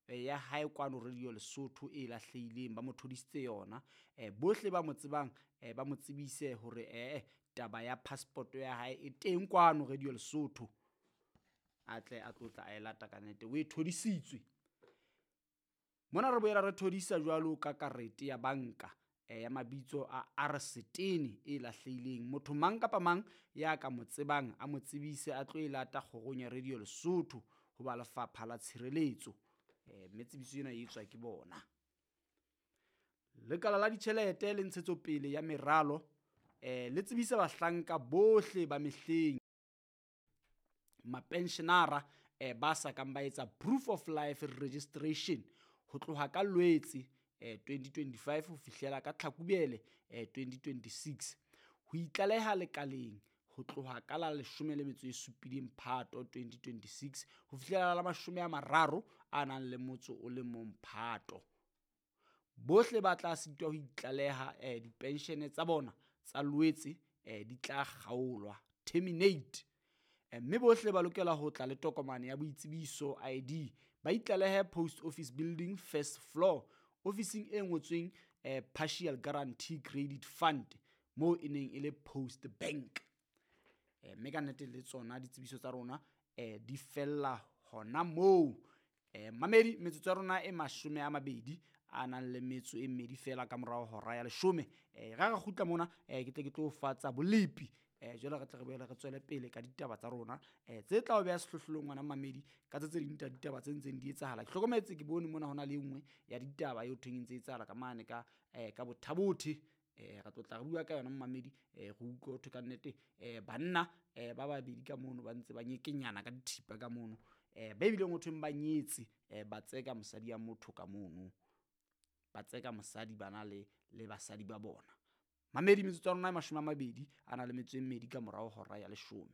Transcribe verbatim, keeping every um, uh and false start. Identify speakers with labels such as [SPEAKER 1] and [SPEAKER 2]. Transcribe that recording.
[SPEAKER 1] ya hae kwano Radio Lesotho e lahlehileng, ba mo thodisitse yona. Bohle ba mo tsebang ba mo tsebise hore ee taba ya passport ya hae e teng kwano Radio Lesotho, a tle a tlo tla a e lata ka nnete, o e thodisitswe. Mona re boela re thodisa jwalo ka karete ya banka ya mabitso a Arsetene e lahlehileng. Motho mang kapa mang ya ka mo tsebang a mo tsebise a tlo e lata kgorong ya Radio Lesotho ho ba lefapha la tshireletso. Mme tsebiso ena e etswa ke bona. Lekala la ditjhelete le ntshetsopele ya meralo le tsebisa bahlanka bohle ba mehleng, mapensionara ba sa kang ba etsa proof of life registration ho tloha ka Lwetse twenty twenty-five ho fihlela ka Tlhakubele twenty twenty-six. Ho itlaleha lekaleng ho tloha ka la leshome le metso e supileng Phato twenty twenty-six ho fihlela la mashome a mararo a nang le motso o le mong Phato. Bohle ba tla sitwa ho itlaleha dipenshene tsa bona tsa Lwetse di tla kgaolwa, terminate. Mme bohle ba lokela ho tla le tokomane ya boitsebiso I D, ba itlalehe Post Office Building first floor, ofising e ngotsweng Partial Guarantee Credit Fund, moo e neng e le Post Bank. Mme ka nnete le tsona ditsebiso tsa rona di fella hona moo. Mamedi, metsotso ya rona e mashome a mabedi a nang le metso e mmedi fela ka morao hora ya leshome. Ra re kgutla mona, ke tle ke tlo fatsa bolepi. Jwale re tle re boele re tswele pele ka ditaba tsa rona tse tla o beha sehlohlolong ngwana mamedi ka tse tse ding tsa ditaba tse ntseng di etsahala. Ke hlokometse ke bone mona hona le e nngwe ya ditaba eo thweng e ntse e etsahala ka mane ka ka Bothabothe. Re tlo tla re bua ka yona mamedi, re utlwe ho thwe ka nnete banna ba babedi ka mono ba ntse ba nyekenyana ka dithipa ka mono, ba ebileng ho thweng ba nyetse ba tseka mosadi ya motho ka mono, ba tseka mosadi bana le le basadi ba bona. Mamedi, metsotso ya rona e mashome a mabedi a na le metso e mmedi ka morao hora ya leshome.